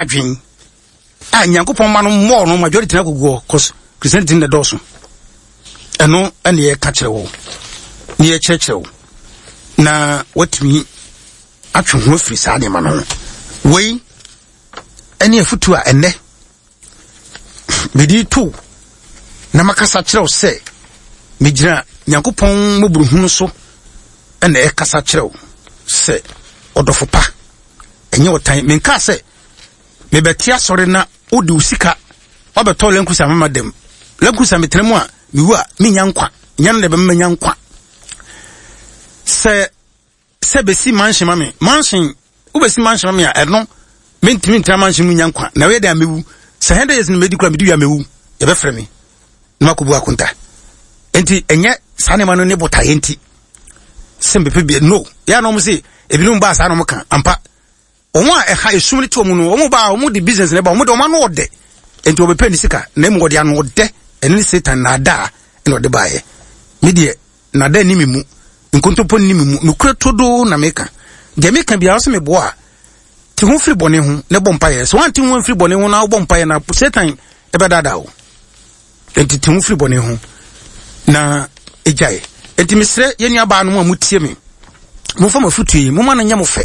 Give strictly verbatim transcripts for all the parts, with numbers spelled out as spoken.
Adwen a Nyankopɔn ma no mmɔɔ no majority na koguɔ, cause Christianity na dɔɔso. Ɛno ɛne yɛka kyerɛ wo ne yɛkyerɛkyerɛ wo na watumi atwe ho afiri saa nneɛma no ho. Wei ɛne afutu a ɛnnɛ mede to na makasa kyerɛ wo sɛ megyina Nyankopɔn mmɔborɔhunu so ɛna ɛkasa kyerɛ wo sɛ ɔdɔfo pa, ɛnyɛ ɔtan. Menkaa sɛ mebɛte asɔre na wode wo sika wabɛtɔ Land Cruiser mama dɛm Land Cruiser metena mu a mewu a menya nkwa nyɛ no na ɛbɛma manya nkwa. Sɛ sɛ bɛsi mansion ma me, mansion wobɛsi mansion ma me a, ɛno mentumi ntena mansion mu nya nkwa na woyɛ dɛn a mewu. Sɛ hundred years no mɛdi kora, medi wie a mewu, yɛbɛfrɛ me na makɔbu akonta. Enti ɛnyɛ saa nneɛma no ne botaeɛ nti sɛ mbɛpɛ bi no yɛ na ɔmo se ebinom baa saa na ɔmo ka ampa. Wɔn a ɛha esum no te wɔn no, wɔn ba a wɔn de business na ɛba, wɔn de wɔn ano ɔdɛ, nti wɔbɛpɛ ne sika na emu wɔde ano ɔdɛ. Ɛne ne Satan naadaa ɛna ɔde baayɛ. Me deɛ, naadaa ni mi mu, nkontompo ni mi mu, nukuri todo na meka. Deɛ meka biara sɛ meboa a te ho firi bɔne ho na bɔ mpaeɛ. Sɛ wɔante ho mfiri bɔne ho na wobɔ mpaeɛ na Satan ɛbɛdaadaa wo. Nti te ho firi bɔne ho na egyae. Nti mesrɛ yɛn nua baa no mu a motie me, momfa mo afotuo yi, momma no nyɛ mo fɛ.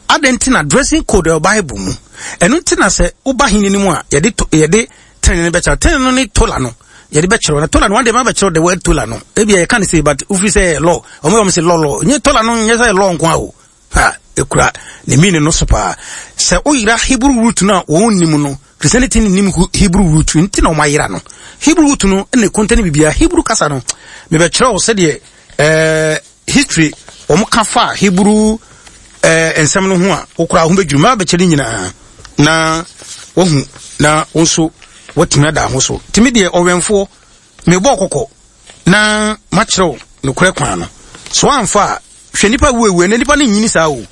Adɛn nti na dressing code ɛwɔ Bible mu? Ɛno nti na sɛ woba hene no mu a, yɛde yɛde tene no bɛkyerɛ tene no ne tola no yɛde bɛkyerɛ na tola no wɔn de ma bɛkyerɛ the word tola no. Ebi a yɛka ne sɛ, but wofi sɛ law, wɔn yɛ wɔn sɛ law law nye tola no nyɛ sɛ law nko a o ha ekura ne meaning no so paa. Sɛ woyera Hebrew root no a wɔn nim no, Christianity nim Hebrew root nti na wɔn ayera no. Hebrew root no ɛna ekonta ne bibia Hebrew kasa no. Mebɛkyerɛ wo sɛdeɛ ɛɛ history wɔn ka fa Hebrew ɛɛ nsɛm no ho a wokura ho bɛdwiri mmaa bɛkyerɛ ne nyinaa na wahu na wo nso watumi ada ho so. Tumi deɛ ɔwɛnfoɔ mebɔ kɔkɔ na makyerɛw nokorɛ kwan no so amfa a, hwɛ nipa wuewu ɛnɛ, nipa no nyini saa o,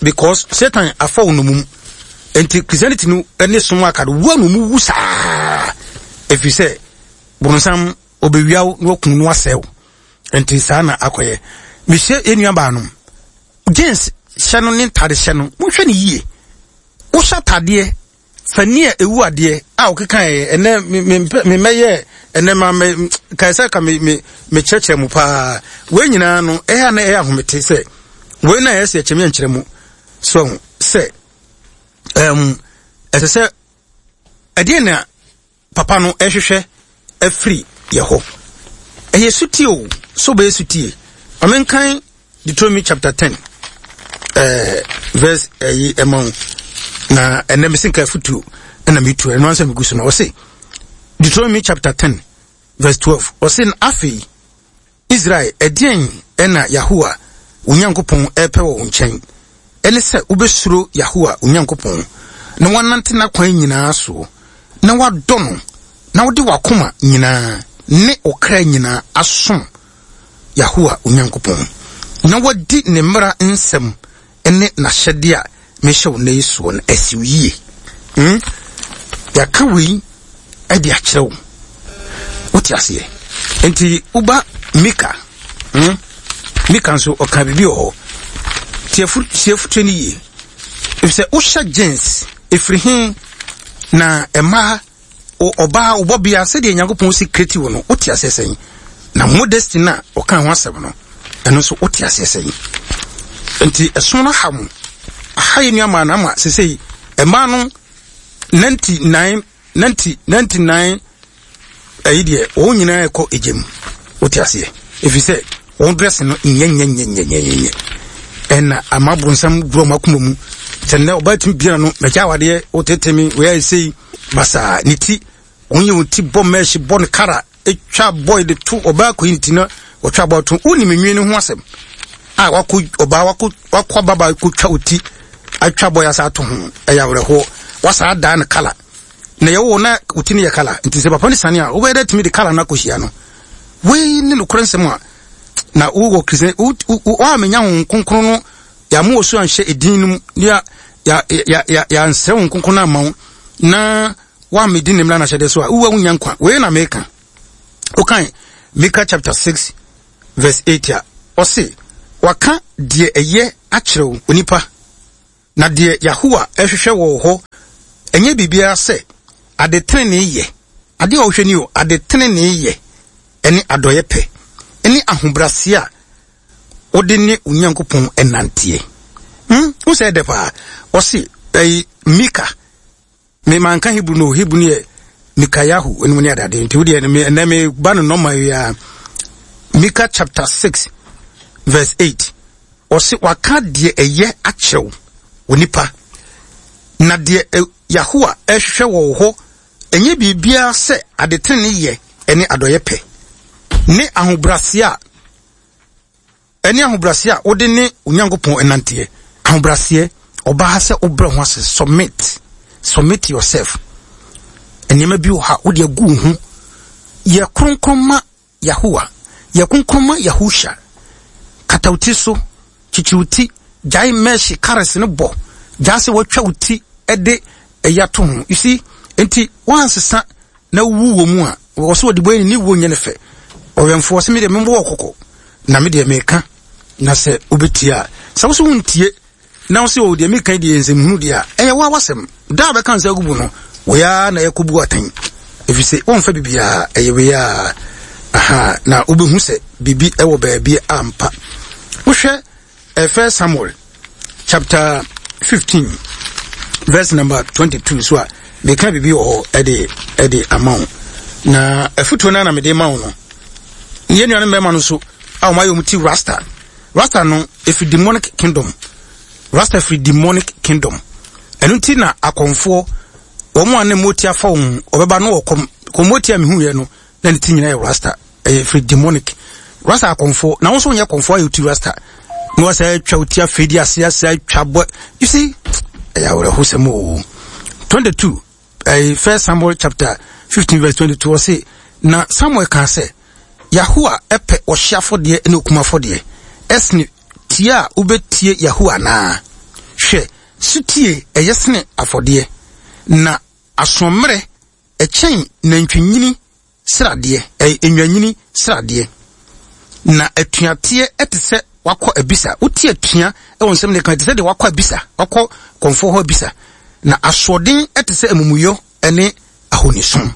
because Satan afa wo nomum. Nti Christianity no ne som aka no wua no mu wu saa, ɛfiri sɛ boronsam ɔbɛwia wo na wakum no asɛe wo. Nti saa na akɔyɛ. Mehyɛ yɛn nua baa no, jeans hyɛ no ne ntade hyɛ no, monhwɛ no yie. Wohyɛ atadeɛ fani a ewu adeɛ a ɔkeka yɛ ɛnɛ memmɛyɛ ɛnɛ ma me kae sɛ ka me me mekyerɛkyerɛ mu paa. Wei nyinaa no ɛyɛ na ɛyɛ ahomete sɛ wei na ɛyɛ sɛ ɛkyɛm yɛ nkyerɛ mu so sɛ ɛm ɛsɛ sɛ ɛdeɛ na papa no ɛhwehwɛ afiri yɛ hɔ. Ɛyɛ sutie o, so bɛyɛ sutie. Ɔmenkan Deuteronomy chapter ten ɛɛ verse ɛyi ɛma wo na ɛnɛ mesi nka afutuo ɛna metu ɛno ansa megu so no. Ɔse Deuteronomy chapter ten verse twelve, ɔse, "Afei Israel, ɛdeɛn ɛna Yahowa wo Nyankopɔn ɛpɛ wɔ wo nkyɛn? Ɛne sɛ wobɛsuro Yahowa wo Nyankopɔn na woanante n'akwan nyinaa soɔ na woadɔ no na wode w'akoma nyinaa ne wo kra nyinaa asom Yahowa wo Nyankopɔn na wadi ne mmara nsɛm ne n'ahyɛdeɛ a mehyɛ wo nnɛ yi soɔ no asi wo yie." hmm? Yɛaka wei de akyerɛ wo, wote aseɛ? Nti woba Mika, hmm? Mika nso ɔka biribi wɔ hɔ. Tie afotuo no yie, ɛfisɛ wohyɛ jeans ɛfiri he na ɛmaa ɔbaa ɔbɔbea sɛdeɛ Nyankopɔn si kreti wo no, wote aseɛ sɛn? Na modesty no a ɔka ho asɛm no, ɛno nso wote aseɛ sɛn? Nti ɛso no ha mu aha yɛ nuamaa no ama sesei ɛmaa no ninety nine ninety ninety nine ɛyi deɛ wɔn nyinaa ɛkɔ egya mu, wote aseɛ? Ɛfiri sɛ wɔn dress no nyɛ nyɛ nyɛ nyɛ nyɛ nyɛ ɛna ama borɔnsam wura wɔn akoma mu sɛ nnɛ ɔbaa tumi biara no mɛgya awadeɛ wotete mi wei ayɛ sei basaa ne ti. Wɔn yɛ wɔn ti bɔ mɛɛhye bɔ ne kara etwa bɔy de to ɔbaa kɔyi ne ti na wɔtwa bɔ to. Wonim nwi no ho asɛm a wakɔ ɔbaa wakɔ wakɔ ababaa kɔtwa wo ti atwa bɔy asa ato ho. Ɛyɛ awerɛhoɔ. Wasa adaa ne kala na yɛwɔ na wo ti no yɛ kala. Nti sɛ papa no sane a, wobɛyɛ dɛ tumi de kala no akɔhyia no. Wei ne nokorɛ nsɛm a na wowɔ Kristian woamenya ho Kronkron no yɛama wɔ so anhyɛ edin no mu ya ya ya ya yɛansrɛ wo Kronkron no ama wo na woammɛdi ne mmara no ahyɛdeɛ so a, wowa wonya nkwa. Wei na meka. Wokan Mika chapter six verse eight a, ɔse waka deɛ ɛyɛ akyerɛ wo onipa. Na deɛ Yahuwah ɛhwehwɛ wɔ hɔ ɛnyɛ biribiara sɛ ade tenenee yɛ. Adeɛ a ɔhwɛ ni o, ade tenenee yɛ ɛne adɔeɛ pɛ ɛne ahobrɛaseɛ a wode ne Onyankopɔn ɛnanteɛ. Hmm, wo sɛ ɛdɛ paa. Ɔse ɛyi Mika. Me manka Hebrew no, Hebrew no yɛ Mikayahu ɛnum ne adade. Nti wo deɛ me ɛnɛ me ba no nɔma yi a Mika chapter six verse eight. Ɔse waka deɛ ɛyɛ akyerɛw wɔ nipa. Na deɛ Yahuwah ɛhwehwɛ wɔ hɔ ɛnyɛ biribiara sɛ ade tenenee yɛ ɛne adɔeɛ pɛ ne ahobrɛaseɛ a ɛne ahobrɛaseɛ a wode ne Onyankopɔn ɛnanteɛ. Ahobrɛaseɛ, ɔbaa sɛ wobrɛ ho ase, submit, submit yourself. Nneɛma bi wɔ ha wode agu wo ho. Yɛ kronkron ma Yahuwah, yɛ kronkron ma Yahusha. Kata wo ti so, kyikyiri wo ti, gyae mɛhye kares no bɔ, gyae sɛ wɔatwa wo ti ɛde ɛyɛ ato ho. You see, nti wansesa na wu wɔ mu a, wɔ so wɔde bɔ ne wuo nyɛ ne fɛ. Ɔwɛmfoɔ sɛ medeɛ membɔ wɔ kɔkɔ, na medeɛ meka, na sɛ wobɛtie a, sɛ wo so wontie, na wo sɛ o deɛ meka deɛ nsɛmhunu deɛ a, ɛyɛ wo a wasɛm. Da a bɛka nsa agugu no, wɔyɛ na ɛkɔbu atɛn. Ɛfiri sɛ wɔmfa biribiara, ɛyɛ wei a, aha, na wobɛhu sɛ biribi ɛwɔ baabi ampa. Wohwɛ First Samuel chapter fifteen verse number twenty-two so a, meka biribi wɔ hɔ ɛde ɛde ama wo. Na afutuo no na mede ma wo no. Yɛn nuanom mmarima no so a wɔn ayɛ wɔn ti rasta. Rasta no ɛfiri demonic kingdom. Rasta firi demonic kingdom. Ɛno nti na akɔmfoɔ wɔn a ne moti afa wɔn ɔbɛba no wɔ kɔm kɔmoti a mehu yɛ no na ne ti nyinaa yɛ rasta. Ɛyɛ firi demonic. Rasta akɔmfoɔ na wɔn nso nyɛ akɔmfoɔ ayɛ ti rasta. Na wɔsɛ atwa wo ti afei di ase ase atwa bɔ. You see, ɛyɛ awerɛhosɛm o. twenty-two, ɛyɛ First Samuel chapter fifteen verse twenty-two ɔse na Samuel kan sɛ Yahuwah ɛpɛ ɔhye afɔdeɛ ne okum afɔdeɛ ɛsene tie a wobɛtie Yahuwah naa. Hwɛ, sutie ɛyɛ sene afɔdeɛ na asommerɛ ɛkyɛn nantwinyini sradeɛ, ɛyɛ enwanyini sradeɛ. Na atuateɛ ɛte sɛ wakɔ abisa. Wotie atua ɛwɔ nsɛm ne kan ɛte sɛ deɛ wakɔ abisa, wakɔ kɔnfoɔ hɔ abisa. Na asoɔden ɛte sɛ amumuyɔ ɛne ahonisom.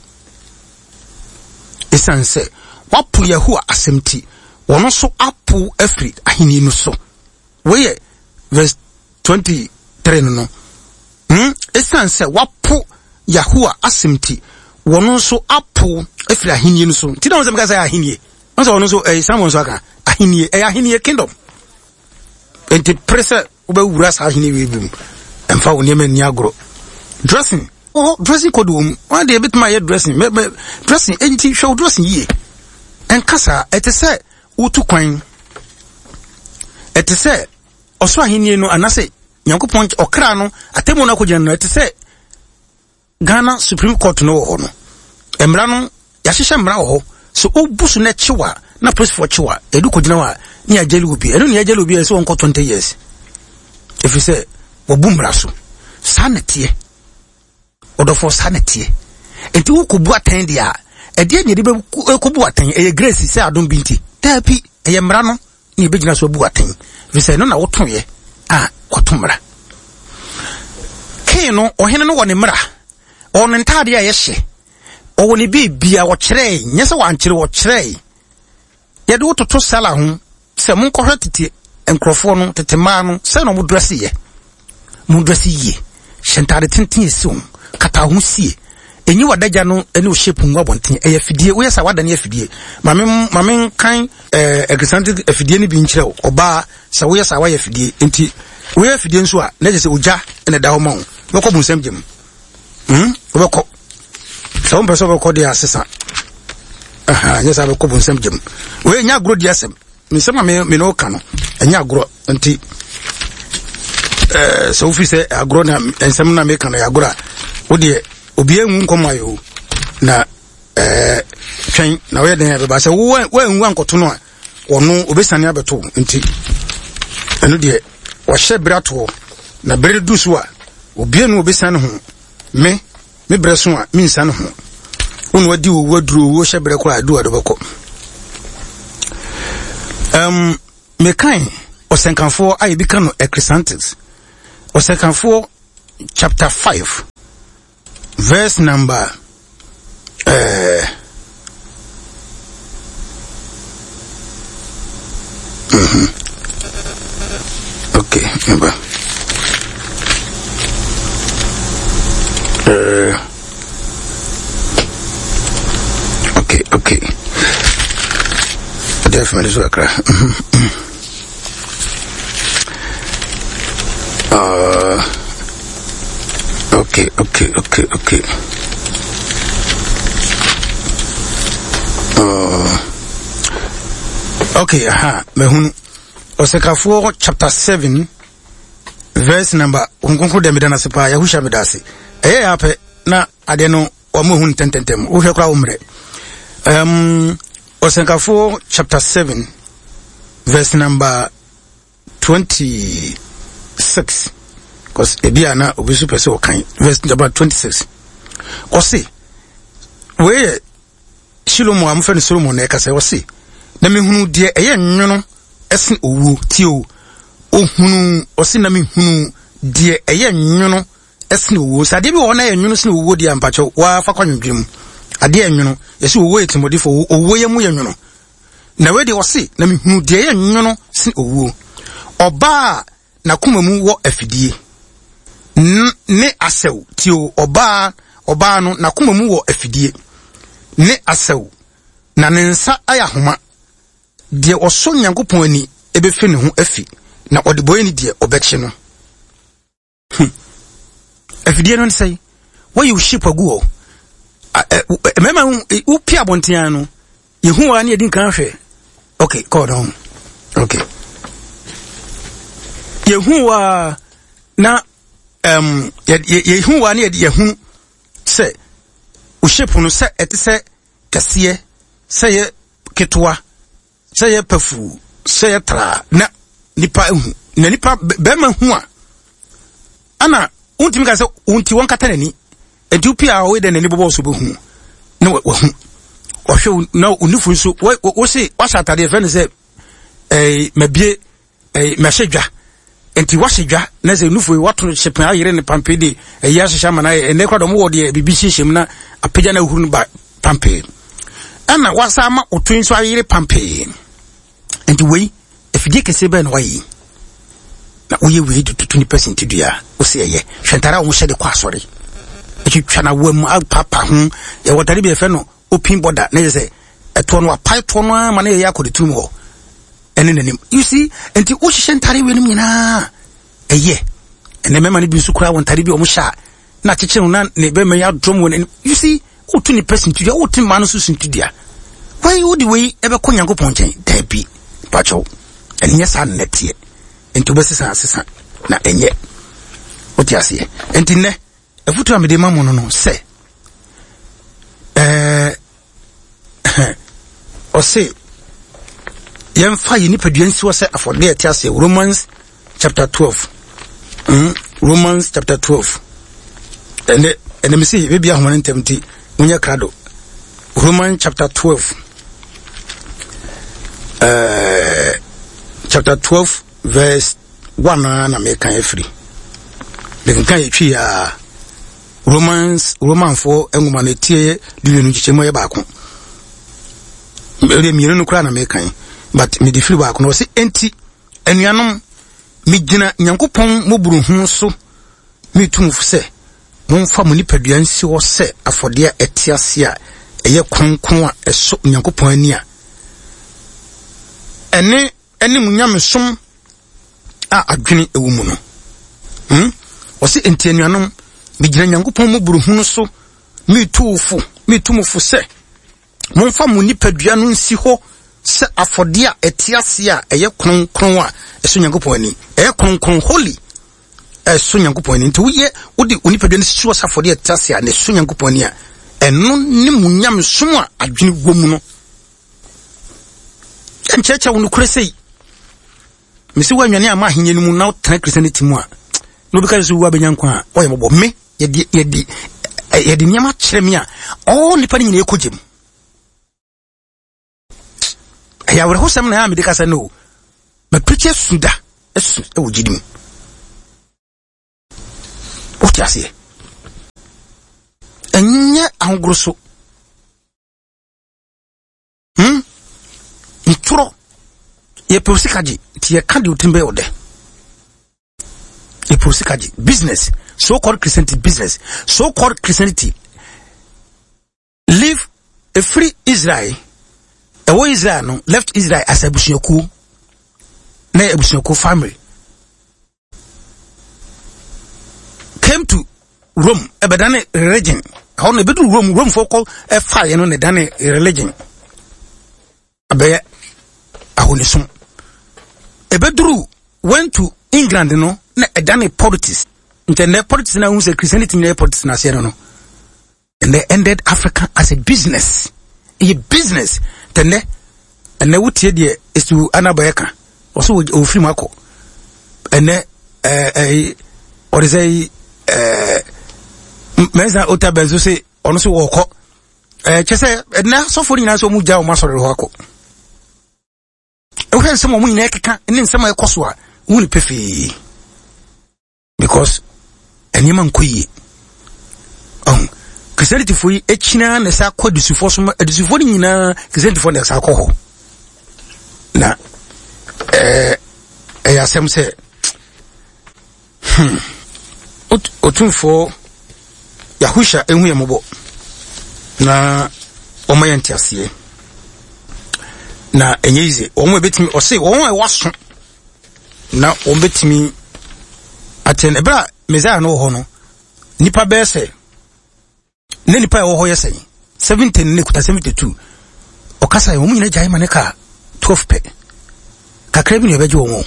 Ɛsiane sɛ wapo Yahuwah asɛm ti, wɔn nso apo afiri ahenni no so. Wei verse twenty-three no no. Hmm? Ɛsiane sɛ wapo Yahuwah asɛm ti, wɔn nso apo afiri ahenni no so. Nti na wɔn sɛ meka sɛ ahenni. Wɔn sɛ wɔn nso ɛyɛ Samuel nso aka ahenni, ɛyɛ ahenni kingdom. Nti pere sɛ wobɛwura saa ahenni wei bi mu. Ɛmfa wo nneɛma nni agorɔ. Dressing, oh, dressing code wɔ mu. Wɔn deɛ ebitumi ayɛ dressing, mɛ mɛ dressing, enti hwɛ wo dressing yie. Ɛnka saa, ɛte sɛ wotu kwan. Ɛte sɛ ɔsoro ahenni no anaasɛ Nyankopɔn ɔkra no atemmu no akɔgyina no, ɛte sɛ Ghana Supreme Court no wɔ hɔ no. Mmara no, yɛahyehyɛ mmara wɔ hɔ. So wobu so na kyew a, na polisifoɔ kyew a, yɛde kɔgyina hɔ a, ne yɛagyele obi. Ɛno ne yɛagyele obi a ɛsɛ wɔnkɔ twenty years. Ɛfiri sɛ, wɔbu mmara so. Saa na ɛteɛ. Ɔdɔfoɔ, saa na ɛteɛ. Enti wokɔbu atɛn deɛ a, ɛdeɛ ne yɛde bɛkɔbu atɛn, ɛyɛ grace sɛ adom bi nti. Daabi, ɛyɛ mmara no ne yɛbɛgyina so abu atɛn. Ɛfiri sɛ, ɛno na wotoeɛ a kɔto mmara. King no, ɔhene no wɔ ne mmara. Ɔwɔ ne ntaadeɛ a yɛhyɛ. Ɔwɔ ne biribia wɔkyerɛe. Nyɛ sɛ wankyerɛ, wɔkyerɛe. Yɛde wo toto sala ho sɛ monkɔhwɛ tete nkurɔfoɔ no, tete mmaa no, sɛ na ɔmo dresse yɛ. Mo dresse yie. Hyɛ ntaade tenten esi ho. Kata ho sie. Enyi wadagya no ne wo shape ngu abɔnten. Ɛyɛ afidie. Woyɛ sɛ wadane afidie. Maame maame nkan ɛɛ ɛkrisante afidie no bi nkyerɛ wo. Ɔbaa sɛ woyɛ sɛ wayɛ afidie. Nti woyɛ afidie nso a na kyerɛ sɛ ogya na ɛda hɔ ma wo. Wobɛkɔ bonsam gyam. Hmm? Wobɛkɔ. Sɛ wompɛ sɛ wobɛkɔ deɛ asesa. Aha, nyɛ sɛ wobɛkɔ bonsam gyam. Wei nyɛ agorɔ di asɛm. Nsɛm a me me ne wo ka no, ɛnyɛ agorɔ. Nti ɛɛ sɛ wofi sɛ agorɔ na nsɛm na meka no yɛ agorɔ a, wo deɛ obiara nwu nkɔm ayɛ o. Na ɛɛ twɛn na woyɛ den a ɛbɛba. Sɛ wo woanwu ankɔto no a, ɔno obɛsane abɛto wo. Nti ɛno deɛ wɔhyɛ berɛ atoɔ. Na berɛ du so a, obiara nu obɛsane ho. Me me berɛ so a mensane ho. Wo na wadi owu aduro, owuo hyɛ berɛ koraa adu a de bɛkɔ. Um, mekan ɔsɛnkafoɔ a yɛbi ka no Ecclesiastes. Ɔsɛkafoɔ chapter five verse number uh, mm-hmm. Okay, number. Uh, okay, okay. Definitely so akra. Uh, okay, okay, okay, okay. Uh, okay, aha, mehunu. Ɔsɛkafoɔ chapter seven verse number nkonkoro dɛ meda no ase paa Yahusha meda ase. Ɛyɛ yɛ apɛ na adeɛ no wɔn ehu ntɛntɛntɛm wohwɛ koraa wo mmerɛ. Um, Ɔsɛnkafoɔ chapter seven verse number twenty-six, because ebi a na obi nso pɛ sɛ ɔkan verse number twenty-six. Ɔse wei yɛ Shilomo a mofɛ no Solomon na ɛkasa. Ɔse na mehunu deɛ ɛyɛ nwono ɛsen owuo. Tie o, ohunu, ɔse na mehunu deɛ ɛyɛ nwono ɛsen owuo. Sɛ adeɛ bi wɔ hɔ na ɛyɛ nwono sen owuo deɛ, mpakyɛw wafa kɔ anwendwene mu. Adeɛ nwono, yɛsɛ owuo yɛ tìmɔdifo, owuo yɛ mu yɛ nwono. Na wei deɛ ɔse na mehunu deɛ ɛyɛ nwono sen owuo, ɔbaa a n'akoma mu wɔ afidie ne asɛw. Tie o, ɔbaa ɔbaa no n'akoma mu wɔ afidie ne asɛw, na ne nsa ayɛ ahoma. Deɛ ɔsɔ Nyankopɔn ani ɛbɛfiri ne ho afi, na ɔde bɔyɛ ne deɛ ɔbɛkye no. Hmm. Afidie no sɛ wɔyɛ wo shape agu hɔ, mmarima wopie abɔnten no yɛhu wa ne yɛdi nkan hwɛ. Okay, call down. Okay, yɛhu wa na um, yɛhu wa ne yɛhunu sɛ wo shape no sɛ ɛte sɛ kɛseɛ, sɛ yɛ ketewa, sɛ yɛ pɛfuu, sɛ yɛ traa, na nipa ehu na nipa bɛrima hu a ana wontumi ka sɛ wonti wɔnkata n'ani. Nti wopie a wɔyɛ dɛ n'ani bɔbɔ so bɛhu na wahu ɔhwɛ na onifu nso wo se wahyɛ atadeɛ fɛ no sɛ ɛɛ mabie ɛɛ mahyɛ dwa. Nti wahyɛ dwa na sɛ nufu yi wato hyepɛn ayere ne pampe de ɛyi ahyehyɛ ama na ɛnɛ kora dɔm wɔ deɛ biribi hyehyɛ mu na apagya na ahuru no ba pampe, ɛna wasa ama oto nso ayere pampe. Nti wei afidie kɛseɛ bɛɛ na wayɛ na woyɛ wei de tutu nipa sintidua. Wosi ɛyɛ hwɛ ntare a wɔhyɛ de kɔ asɔre atwitwa na wɔm apapa ho. Yɛwɔ ntare bi yɛfrɛ no open border na yɛ sɛ ɛtoɔ no apae toɔ no ama na yɛyɛ akɔ de turum hɔ ɛne n'anim, you see. Nti wohyehyɛ ntare wei nom nyinaa ɛyɛ. Ɛnɛ mmarima no bi nso kura wɔn ntare bi a wɔn hyɛ a na akyekyere na ne bɛrima yi adɔm wɔ n'anim, you see. Wotu nipa sintidua, wotu mmaa no nso sintidua. Wei wode wei ɛbɛkɔ Nyankopɔn nkyɛn? Daabi, pakyɛw, ɛnyɛ saa nnɛteɛ. Nti wobɛsesa asesa na ɛnyɛ wote aseɛ. Nti nnɛ afutu a mede ma mo no no sɛ ɛɛ ɔse yɛmfa yɛ nipadua nsi hɔ sɛ afɔdeɛ ɛte aseɛ. Romans chapter twelve, mm, Romans chapter twelve. Ɛnɛ ɛnɛ mesi baabi ahoma no ntɛm nti monyɛ krado. Romans chapter twelve, uh, chapter twelve verse one a na meka afiri mekenka yɛtwi a Romans, Romanfoɔ nwoma no etie dumienu nkyekyɛmu yɛ baako, ɛdeɛ mmienu no koraa na mekan, but mede firi baako na ɔse enti anuanom, megyina Nyankopɔn mmɔborɔhunu so metu mo fo sɛ momfa mo nipadua nsi hɔ sɛ afɔdeɛ a ɛte ase a ɛyɛ kronkron a ɛsɔ Nyankopɔn ani a ɛne ɛne mo nyamesom a adwene ɛwɔ mu no. hmm? Ɔse enti anuanom, megyina Nyankopɔn mmɔborɔhunu so metu wo fo, metu mo fo sɛ momfa mo nipadua no nsi hɔ sɛ afɔdeɛ a ɛte ase a ɛyɛ kronkron a ɛsɔ Nyankopɔn ani, ɛyɛ kronkron, holy, ɛsɔ Nyankopɔn ani. Nti woyɛ wode wo nipadua no si hɔ sɛ afɔdeɛ a ɛte ase a na ɛsɔ Nyankopɔn ani a ɛno ne mo nyamesom a adwene wɔ mu no. Ɛnkyerɛkyerɛ wo nokorɛ sei mesi woanwane ama ahenni no mu na wotena Christianity mu a na obi ka sɛ wo abɛnya nkwa a ɔyɛ mmɔbɔ. Me yɛde yɛde yɛde nneɛma kyerɛ me a ɔɔ nipa no nyinaa ɛkɔ gyem. Ɛyɛ awerɛhosɛm na ɛyɛ a mede kasa no o mapirikyi asu da asu ɛwɔ gyidi mu. Wote aseɛ? Ɛnyɛ ahogoro so. Hmm? Ntorɔ. Yɛpɛ sika gye, nti yɛka deɛ otirim bɛyɛ ɔdɛ. Yɛpɛ sika gye. Business. So-called Christianity business. So-called Christianity. Leave efiri Israel. Ɛwɔ Israel no, left Israel as abusuakuo. Na yɛ abusuakuo family. Came to Rome, ɛbɛdane religion. Ɛhɔ no, ɛbɛduru Rome, Rome fo kɔ ɛfaeɛ no na ɛdane religion. Abɛyɛ ahonisom. Ɛbɛduru went to England no, na ɛdane politics. Nti ɛnɛ politics na ɛhu sɛ Christianity nyɛ politics na aseɛ no no. And they ended Africa as a business. Ɛyɛ business. Tɛnɛ, ɛnɛ wotie deɛ esu anabɛyɛ ka. Ɔso ofiri mu akɔ. Ɛnɛ ɛɛ ɛɛ ɔde sɛ ɛɛ mɛnsa ota bɛnso se ɔno so wɔkɔ. Ɛɛ kyɛ sɛ ɛnɛ asɔfo no nyinaa sɛ ɔmo gya ɔmo asɔre hɔ akɔ. Ɛwohwɛ nsɛm a ɔmo nyinaa keka ne nsɛm a ɛkɔ so a, wohu ne pefee. Because nneɛma nkɔ yie. Ɔho Christianity fo yi ekyina na ɛsɛ akɔ adusufoɔ so ma adusufoɔ no nyinaa Christianity fo na ɛsɛ akɔ hɔ. Na ɛɛ ɛyɛ asɛm sɛ hmm Otumfoɔ Yahusha ehu yɛn mmɔbɔ na wɔn yɛ nteaseɛ na ɛnyɛ yize wɔn a ebetumi ɔse wɔn a ɛwɔ aso na wɔn betumi atɛn. Ɛberɛ a Messiah no wɔ hɔ no, nipa bɛyɛ sɛ ne nipa a ɛwɔ hɔ yɛ sɛn seventy ne kuta seventy two ɔkasa yɛ wɔn nyinaa gyae ma ne kaa twelve pɛ kakra bi na ɛbɛgye wɔn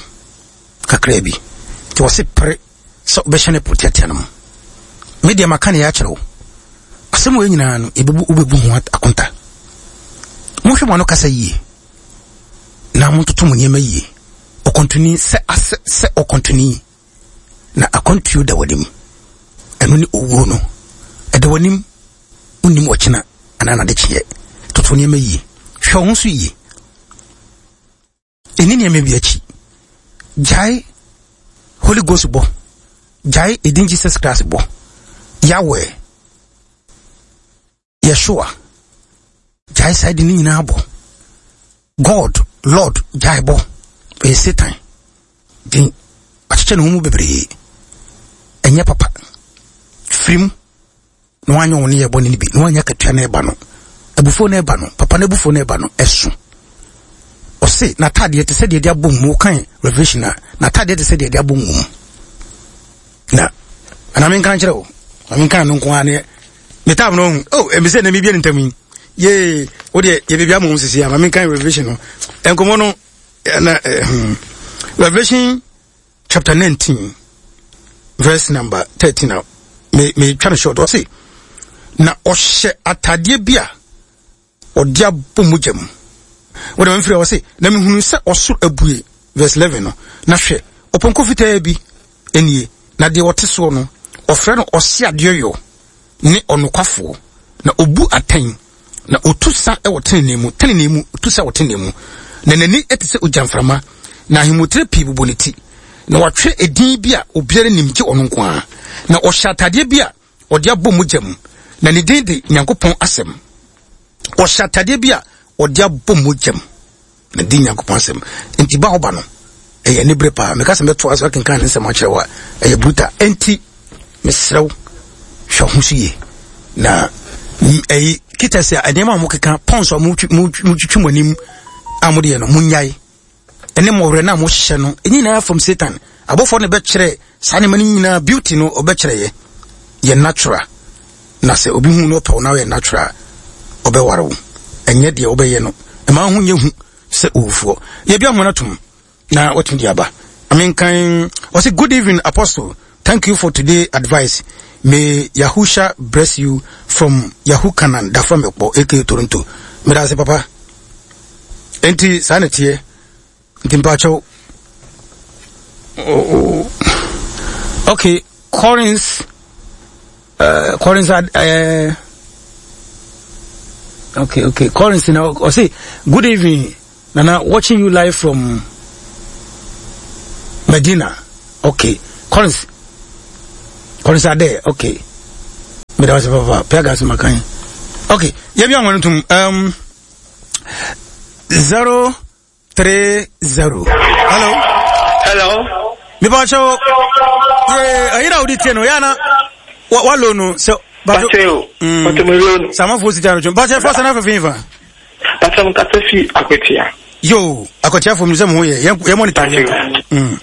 kakra bi nti wɔse pere sɛ wobɛhyɛ ne po tiatia no mu. Me deɛ maka ne yɛ akyerɛ wo asɛm wɔ nyinaa no ɛbɛbu wobɛbu ho akonta. Monhwɛ mo ano kasa yie na montoto mo nneɛma yie. Ɔkɔntoni sɛ asɛ sɛ ɔkɔntoni na akɔntuo da w'anim, ɛno ne owuo no ɛda w'anim, wonnim ɔkyena anaa n'adekyeɛ. Toto nneɛma yie, hwɛ wo ho so yie, ɛni nneɛma bi akyi. Gyae Holy Ghost bɔ, gyae edin Jesus Christ bɔ, Yahweh, Yeshua, gyae saa di ne nyinaa bɔ, God, Lord, gyae bɔ, ɛyɛ Satan din, akyekyɛ ne ho mu bebree, ɛnyɛ papa. Firim na wanyɛ wɔn yɛ bɔne no bi na wanyɛ akatua na ɛba no, abufuo na ɛba no, papa no abufuo na ɛba no ɛso. Ɔse n'ataadeɛ te sɛ deɛ de abɔ mu, kan Revelation a n'ataadeɛ te sɛ deɛ de abɔ mu. Na ana menka nkyerɛ wo, na menka no nko ara ne me tam no ho. Oh, ɛmi sɛ na mebie ne ntam yi yee, wo deɛ yɛbɛbi ama wo sisi a ma menka Revelation no nkɔmmɔ no na eh, Revelation chapter nineteen verse number thirteen a me me twa no short. Ɔse na ɔhyɛ atadeɛ bi a ɔde abɔ mogya mu. Wɔde ma mfiri ɔse na mehunu sɛ ɔsoro abue, verse eleven no, na hwɛ ɔpɔnkɔ fitaa bi nie, na deɛ ɔte soɔ no ɔfrɛ no ɔse adeɛyɔ ne ɔnokwafoɔ, na obu atɛn na otu sa wɔ tenenee mu, tenenee mu, otu sa wɔ tenenee mu, na n'ani te sɛ ogyamframa, na ahemotire pii bobɔ ne ti, na watwerɛ edin bi a obiara nim gye ɔno nko ara, na ɔhyɛ atadeɛ bi a ɔde abɔ mogya mu, na ne din de Nyankopɔn Asɛm. Ɔhyɛ atadeɛ bi a ɔde abɔ mogya mu, na din Nyankopɔn Asɛm. Nti ba ɔba no ɛyɛ anibere paa. Meka sɛ mɛto aso akenkan ne nsɛm akyerɛ wo a ɛyɛ brutal. Enti mesrɛ wo hwɛ ho so yie na ɛyi kita sɛ nneɛma a mokeka pɔns a motwitwi mo anim a mode yɛ no monyae, ɛne mmɔwerɛ no a mohyehyɛ no nyinaa from Satan. Abɔfoɔ no bɛkyerɛ saa nneɛma no nyinaa, beauty no ɔbɛkyerɛ yɛ yɛ natural, na sɛ obi hu no ɔpɛw na ɔyɛ natural ɔbɛware wo, ɛnyɛ deɛ wobɛyɛ no ɛma ho nyɛ hu sɛ owufoɔ. Yɛbi ahoma no atom na watumi de aba. Amenkan ɔse good evening Apostle, thank you for today advice, may Yahusha bless you from Yahu Kanan Dafa Mekpɔ aka Toronto. Meda ase papa. Enti saa na teɛ. Nti mpakyɛw. Oh, okay, Corinth, uh, Corinth, uh, okay, okay, Corinth, now, I say, good evening, Nana, watching you live from Medina. Okay, Corinth, Collins Ade, okay. Meda wase papa, Piaga so makan. Okay, yɛbi anwa no tum. Um, zero three zero. Hello. Hello. Mepa kyɛw. Ye, ayira odi tie no, ya na wa wa lo no sɛ Pacho. Pacho me lo no. Samafo sita no twem. Pacho fa sana fa fa. Pacho mkasa fi Akwatia. Yo, Akwatia fo mi sɛ mo ho yɛ. Yɛ monitor yɛ. Mm.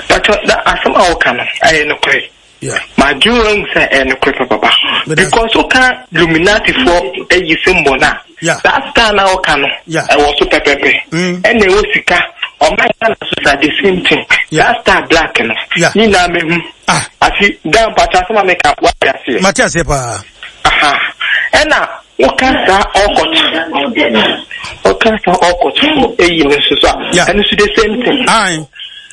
Pacho da asɛm a woka no ɛyɛ nokorɛ. Yeah. Madwene ahu sɛ ɛyɛ nokorɛ papapa. Because woka Illuminati foɔ ayi symbol no a, Yeah. that star na woka no, Yeah. ɛwɔ so pɛpɛpɛ. Mm. Ɛna ɛwɔ sika, ɔman Ghana so sa the same thing. Yeah. That star black no, Yeah. ne nyinaa mehu. Ah. Ati dan Pacho asɛm a meka wate aseɛ. Mate aseɛ paa. Aha. Ɛna woka saa ɔkɔt woka saa ɔkɔt eyi no nso so a, Yeah. ɛno nso the same thing. Aye.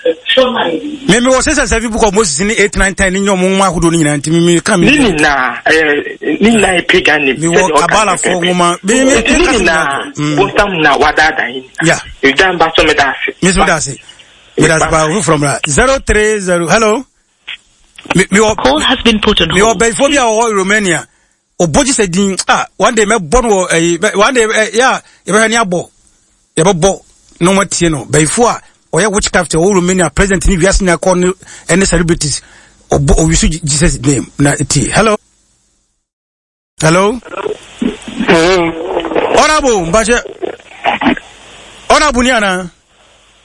Me me wɔ sɛ sɛ book of Moses ne eight nine ten ne nyɛ ɔmo nwoma ahodoɔ no nyinaa nti me me ka me Ne nyinaa ɛyɛ ne nyinaa yɛ pagan name. me wɔ Sɛdeɛ ɔka Kabbalahfoɔ pɛpɛɛpɛ. nwoma. Me me Nti ne me ka sɛ nyinaa Mm. bonsam na wadaadaa yi. Yeah. Edan ba so meda ase. Me so da ase. Me da ase paa foforɔ mmra. Zero three zero. Hello. Me me wɔ Call has been put on me wɔ hold. bɛnfo bi a ɔwɔ Romania. Ɔbɔ gye sɛ din ah one day mɛbɔ no wɔ ɛyi bɛ- one day ɛ yɛ a yɛbɛhwɛ ne abɔ yɛbɛbɔ na wɔn atie no bɛnfo a ɔyɛ witchcraft ɔwɔ Romania president ne wiase nyinaa kɔ ne ɛne celebrities ɔbɔ ɔwisu Jesus name na tie. Hello. Hello. Honorable Mbache. Honorable ni ana.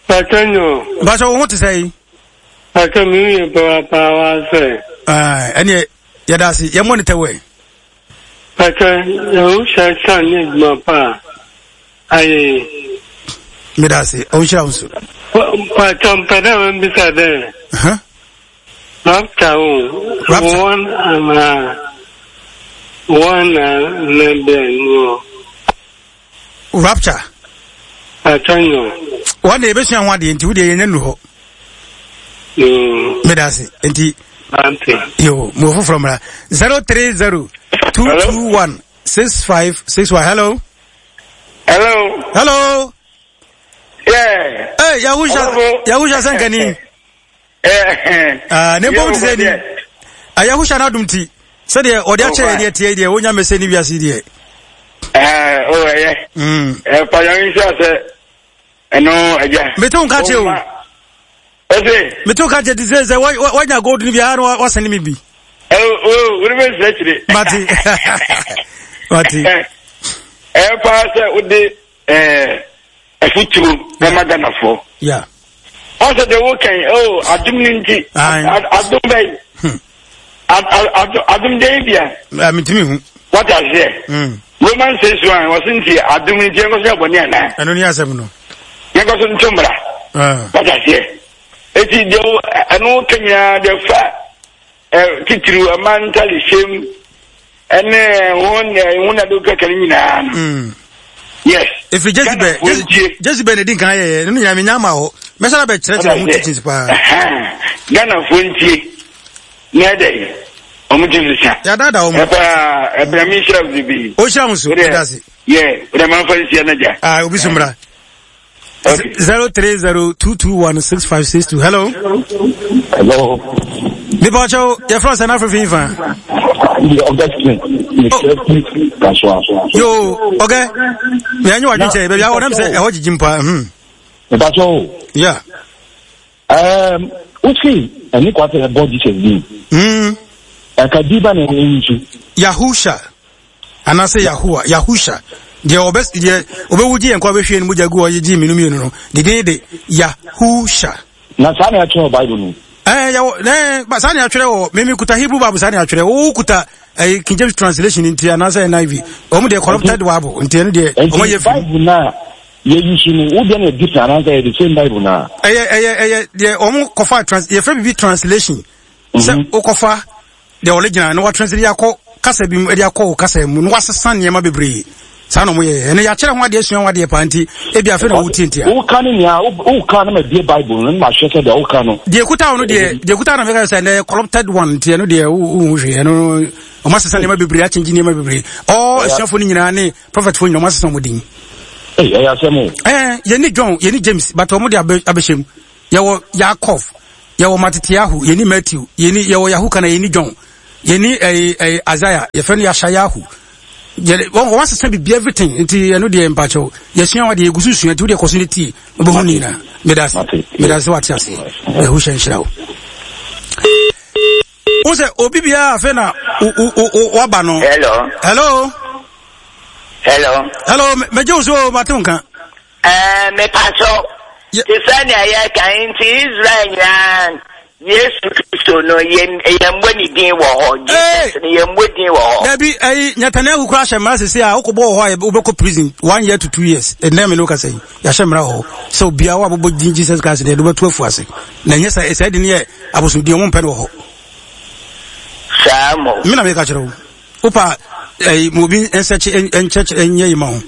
Pacho no, Mbache wo ho te sɛ yi. pacho mi yɛ papa wa sɛ. Ah, ɛneɛ yɛda ase yɛ monitor wɛ. Pacho yɛn hyɛ san ne adwuma pa a ayɛ. Meda ase ɔnhyira wo nso. Pacho mpɛ dɛ mebisa dɛ Uh-huh. rapture o Rapture. wɔn ana wɔn na na bɛn no Rapture. pacho no. Wɔn de yɛbɛsua ho adeɛ nti wo deɛ yɛnya nu hɔ. Mm, Meda ase nti ante. yo mo foforɔ mmra. Zero three zero two two one six five six one. Hello. Hello. Hello. Yeah. Hey, Yahusha Hello. Yahusha Sankani. Eh. Ah, ne mpom te sɛ ni. Ah, Yahusha n'adom ti. Sɛdeɛ ɔde akyɛ yɛ deɛ tie deɛ wonya mɛsɛ ne wiase deɛ. Eh, oh yeah. Mm. Eh, pa yang nhyɛ sɛ ɛno agya. Mete wo nka kyerɛ o. Ɔse. Mete wo ka kyerɛ te sɛ sɛ wa- wa- wanya gold no bi a na wa- wasɛne me bi. Eh, oh, wo ne bɛ kyerɛ. Mate. Mate. Eh, paa sɛ wode eh afuturo bɛma Ghanafoɔ. Yeah. Ɔsɛ deɛ wokan, oh, adom no nti. Aye. Ad- Adom bɛn? Hmm. Ad- ad- ad- Adom dɛn bia? Ah, mentumi hu. Wate aseɛ? Mm. Roman six one, wɔse nti adom no nti yɛnkɔ so yɛ bɔne anaa? Ɛno ne asɛm no. Yɛnkɔ so nto mmara. Ah. Wate aseɛ? Eti deɛ wo- ɛno woka nyinaa deɛ fa ɛ, titiriw ɛma ntale hyɛm ɛne ho ne ho na de wokaka no nyinaa no. Mm. Yes. Ɛfiri Jezebel, Ghanafoɔ ntie. Jezebel na ɛdi nkan yɛyɛ, ɛno nyinaa menya ama hɔ. Mɛsa na bɛkyerɛkyerɛ ho teachings paa. Ɛhɛn. Ghanafoɔ ntie. Na ɛdɛ ɔmo ti sisa. Yɛadaadaa wɔn. Ɛpaa ɛpɛ mi nhyira wo bebree. Ɔnhyira wo nso, Wodeɛ- meda ase. Yɛ, wode ma mfa nsia no gya. Ah, obi so mmra. Okay. Zero three zero two two one six five six two. Hello. Hello. Nipa ɔkyɛw, yɛfrɛ sɛ n'afefe nfa. Yeah, Augustine. Mr. Kaswa. Yo, okay. Mɛ anyi wadwi kyɛ, baabi a wɔnam sɛ ɛhɔ gyigyi mpa. Hmm. Mepacho. Yeah. Um, usi, ɛni kwa sɛ ɛbɔ Jesus din. Hmm. Ɛka di ba na ɛyɛ nsu. Yahusha. Anaasɛ Yahuwa, Yahusha. Deɛ ɔbɛ deɛ ɔbɛwu gye yɛn kɔ abɛhwie ne mogya gu hɔ gye mmienu mmienu no. Ne din de Yahusha. Na saa na ɛkyerɛ wɔ Bible no. Ɛɛ yɛwɔ ɛɛ ba saa na yɛatwerɛ wɔ mimi kuta Hebrew Bible saa na yɛatwerɛ wo kuta ɛɛ King James translation nti anaasɛ N I V wɔn deɛ corrupted Bible nti ɛno deɛ wɔn ayɛ Nti firi Bible na yɛyi su no, wo deɛ na different anaasɛ ɛyɛ the same Bible na. ɛyɛ ɛyɛ ɛyɛ deɛ wɔn kɔfa trans yɛfrɛ bibi translation sɛ wokɔfa deɛ original na watranslate akɔ kasa bi mu ɛde akɔ wo kasa mu na wasesa nneɛma bebree saa na wɔn yɛ ɛno yɛakyerɛ ho adeɛ sua ho adeɛ paa nti ebi afei na wotie ntia Woka ne nea, woka na ma bie Bible no, na ma hwɛ sɛ deɛ woka no. deɛ kuta wo no deɛ deɛ kuta na meka sɛ ɛnɛ corrupted one nti ɛno deɛ wohu hwee ɛno ɔmo asesa nneɛma bebree akyɛngye nneɛma bebree ɔ asuafoɔ no nyinaa ne prophetfoɔ nyinaa ɔmo asesa ɔmo din Ei, ɛyɛ asɛm o. ɛɛ yɛne John yɛne James but ɔmo de abɛ abɛhyɛ mu yɛwɔ Yaakov Yɛwɔ Matitiahu, yɛni Matthew, yɛni yɛwɔ Yahu kana, yɛni John, yɛni ɛyi ɛyi Isaiah, yɛfrɛ no Yashayahu. Yɛ wɔn wɔn asesa bibi, everything. Nti ɛno deɛ, mpakyɛw, yɛsua wa deɛ, yɛgu so sua. Nti wodeɛ kɔ so ne tie, wobɛhu ne nyinaa. Meda ase, meda ase. Wate ase. Ɛho hyɛ nhyira wo. Wo sɛ obi biara afei na waba no. Hello. Hello. Hello. Hello, mɛgye wo so, mate wo nka. Ɛɛ, mepatɔ te sɛ nea yɛka nti, Israel nyinaa, Yesu Kristo no, yɛmmɔ ne din wɔ hɔ? Jesus no, yɛmmɔ din wɔ hɔ? Dabi, ɛyi Netanyahu kora ahyɛ mmara sese a wokɔbɔ wɔ hɔ a, wobɛkɔ prison one year to two years. Ɛnɛ me ne woka sɛ yɛahyɛ mmara wɔ hɔ sɛ obiara wo a bobɔ din Jesus Christ deɛ, yɛde wobɛto afu ase. Na ɛnyɛ sɛ sɛ de ne yɛ abosomdin, ɔmo mpɛ no wɔ hɔ. Saa mo. Me na meka kyerɛ wo. Wopa ɛyi ma obi nsɛkye nkyɛkyɛ nyɛ yi ma ho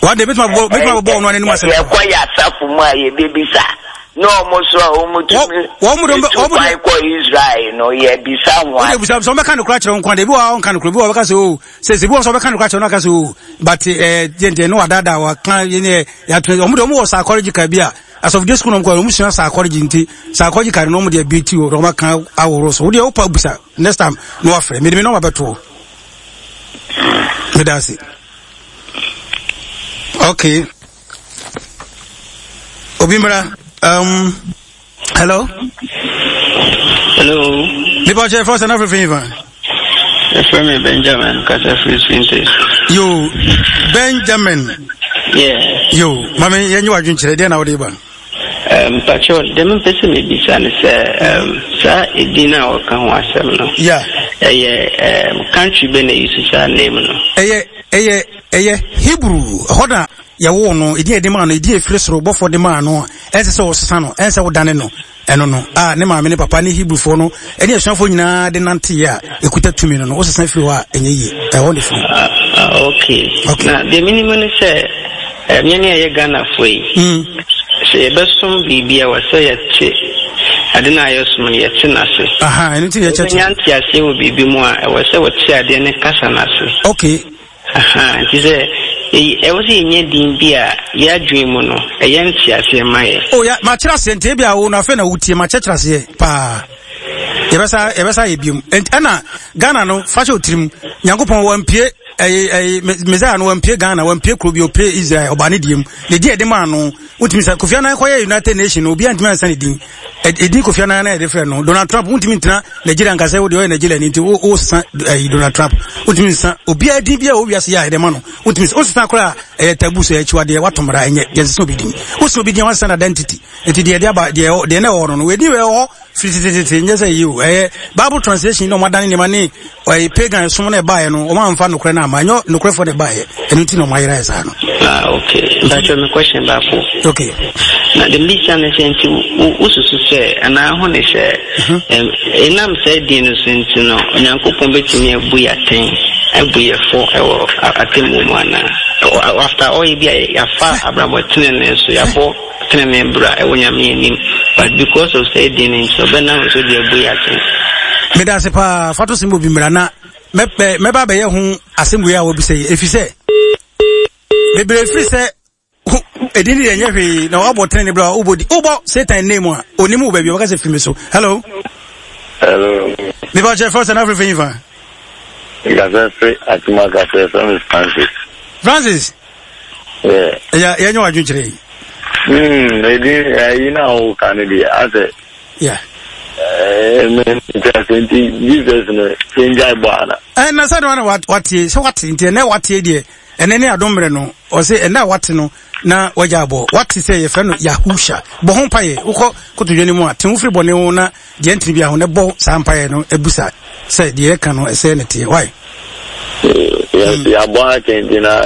wade, bɛtumi abobɔ bɛtumi abobɔ ɔno anim asɛm. Yɛkɔ yɛ asafo mu a, yɛbɛbisa na ɔmo so a ɔmo tumi wɔn mo de tu kwan kɔ Israel no, yɛbisa ho. Wode bisa sɛ ɔbɛka no kora kyerɛ wo nkwa de, ebi wɔ hɔ a ɔnka no kora, ebi wɔ hɔ ɔbɛka sɛ o sɛ sɛ ebi wɔ hɔ sɛ ɔbɛka no kora kyerɛ no, aka sɛ o, but ɛɛ deɛ deɛ no wadaadaa waka yɛ yɛato. Ɔmo de ɔmo wɔ psychological bi a asɔfodie sukuu na ɔmo kɔ, ɔmo sua psychology, nti psychological no ɔmo deɛ bi ti o, ɔmo aka ahorow so. Wodeɛ wopa bisa next time na wafrɛ mede me nɔma bɛto. Meda ase. Okay, obi mmra. um, hello. Hello. Nipa kyɛ fɔ sɛ na fɛfɛ yi fa. Yɛfrɛ me Benjamin, kasa firi Spintex. Yo, Benjamin. Yeah. Yo, mame yɛnyɛ wadwenkyerɛ deɛ na wode ba. Um, Pacho, deɛ mepɛ sɛ mebisa ne sɛ um, saa ɛdin a wɔka ho asɛm no, yeah. ɛyɛ um, country bɛ na ɛyi saa name no? ɛyɛ ɛyɛ ɛyɛ Hebrew. Ɛhɔ na yɛwoo no. Ɛdin a yɛde maa no, ɛdin a ɛfiri soro bɔfoɔ de maa no, ɛnsɛ sɛ wɔsesa no, ɛnsɛ sɛ wodane no. Ɛno no a ne maame ne papa ne Hebrewfoɔ no ɛne asuafoɔ nyinaa de nanteeɛ a ɛkuta tumi no no wosesa firi hɔ a, ɛnyɛ yie. Ɛhɔ ne firi. Ah, ah, okay. Okay. Na deɛ menim ne sɛ um, yɛne a ɛyɛ Ghanafoɔ yi, mm. sɛ yɛbɛsom biribi a, wɔ sɛ yɛte ade no a yɛsom no, yɛte n'ase. Aha, ɛno nti na wobɛnya yɛkyerɛkyerɛ. Nteaseɛ wɔ biribi mu a, ɛwɔ sɛ wɔte adeɛ ne kasa n'ase. Okay. Aha, nti sɛ ɛyi- ɛwɔ sɛ yɛnya din bi a yɛadwene mu no ɛyɛ nteaseɛ ma yɛ. Oh ya, makyerɛ aseɛ. Nti ebi a wo no afei na wotie, makyerɛkyerɛ aseɛ paa. Yɛbɛsa yɛbɛsa yɛ biom. Enti ɛna Ghana no fa hyɛ otirim, Nyankopɔn wampie ɛyi ɛyi Messiah no, wampie Ghana, wampie kuro bi, opie Israel. Ɔbaa ne deɛ mu ne di ɛde maa no. Wotumi sɛ Kofi Annan kɔyɛ United Nation no, obiara ntumi ansa ne din. Ɛdin Kofi Annan na yɛde frɛ no. Donald Trump, wontumi ntena Nigeria nka sɛ wode ɔyɛ Nigeria ni nti wo wo sesa ɛyi Donald Trump. Wontumi nsesa obiara din biara a owiase yɛ a yɛde ma no. Wontumi sɛ wosesa koraa, ɛyɛ taboo, sɛ akyiwadeɛ, wato mmara. Ɛnyɛ yɛnsesa obi din. Wosesa obi din a, wasesa no identity. Nti deɛ yɛde aba deɛ deɛ na ɛwɔ hɔ no no ɛdin wɔ hɔ firi tetetete. Nyɛ sɛ yi o, ɛyɛ Bible translation na ɔmo adane nneɛma ne ɛyɛ pagan som na ɛbaeɛ no. Ɔmo amfa nokorɛ no ama, ɛnyɛ nokorɛfoɔ na ɛbaeɛ. Ɛno nti na ɔmo ayera yɛ saa no. Ah, okay. Mpakyɛ, me question baako. Okay. Na de mbisa ne sɛ, nti wo- wosusu sɛ anaa ho ne sɛ ɛm, ɛnam saa din no so nti no, Onyankopɔn bɛtumi abu yɛ atɛn, abu yɛ fɔ ɛwɔ a- atemmuo mu anaa? Ɛwɔ- after all, bi a yɛafa abrabɔ tenene so, yɛabɔ tenene bra ɛwɔ Nyame anim, but because of saa din no nti, ɔbɛnam so de abu yɛ atɛn? Meda ase paa. Fa to sɛm obi mmara na mɛpɛ mɛba abɛyɛ ho asɛm wei a wɔbisa yi, ɛfiri sɛ bebree firi sɛ ɛdin ne deɛ ɛnyɛ hwee na wabɔ tene ne berɛ a wobɔ di wobɔ Satan name a ɔnim wo baabi a wɔka sɛ firi me so. Hello. Hello. Mepa kyɛ fɛ sɛ na afrɛfrɛ yi fa. Nkasa firi Atuma kasa, ɛfrɛ me Francis. Francis. Yeah. Ɛyɛ yɛnyɛ wadwenkyerɛ yi. Hmm, ɛdin ɛyi na woka no deɛ asɛ. Yeah. Ɛɛ, nti ase nti Jesus no yɛngyae bɔ ana? Ɛna sɛ de wa na watie sɛ wate, nti ɛnɛ watie deɛ, ɛnɛ ne adom mmerɛ no, ɔsɛ ɛnɛ a wate no na wagya abɔ. Wate sɛ yɛfrɛ no Yahusha. Bɔ ho mpayɛ. Wokɔ kotodwe no mu a, te ho firi bɔne ho na deɛ ntene bi aho na bɔ saa mpayɛ no, abusa sɛ deɛ yɛka no ɛsɛ ne teɛ. Why? Yɛabɔ akyɛ nti na.